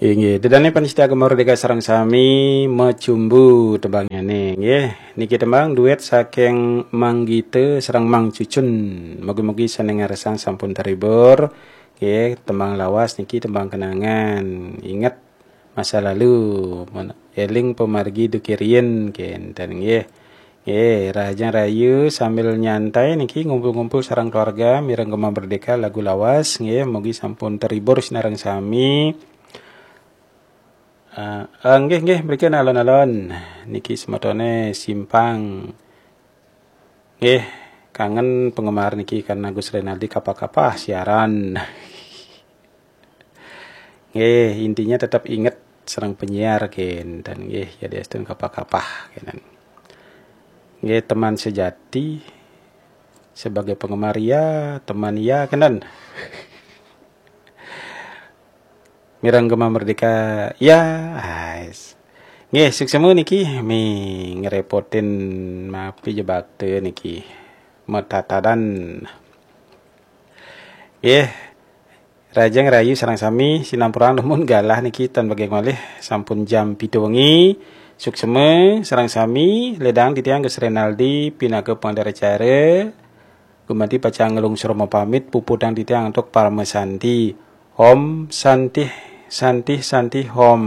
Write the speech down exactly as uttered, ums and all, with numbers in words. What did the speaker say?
Inggih, ida dané pamiarsa Gema Merdeka sareng sami, Macumbu tembangnyané, nggih. Niki tembang duet saking Mang Gita sareng Mang Cucun. Mugi-mugi sané ngarsang sampun terhibur. Nggih, tembang lawas niki tembang kenangan. Inget masa lalu, men-, éling pamargi duké riyin, kénten nggih. Nggih, rahajeng rahayu sambil nyantai niki ngumpul-ngumpul sareng keluarga mireng Gema Merdeka lagu lawas nggih, mugi sampun terhibur sinareng sami. Eh, eh, nggih, nggih, mriki alon-alon niki semetoné Simpang. Nggih, kangen penggemar niki karena Gus Renaldi kapah-kapah siaran. Nggih, intinya tetap inget sareng penyiar kénten nggih, yadiastun kapah-kapah kénten. Nggih, teman sejati sebagai penggemar ya, teman ya kénten. Mireng Gema Merdeka ya, ais. Nggih, suksma niki mi ngrepotin mapi jebakte niki. Matatadan. Nggih, rahajeng rahayu sareng sami, sinampurang dumun galah niki tan bagi malih sampun jam pitu wengi. Suksma sareng sami, ledang titiang Gus Renaldi pinaka pangandar acara. Gumanti pacang nglungsur mapamit, puputang titiang antuk parama santi. Om Santih, Santih, Santih Om.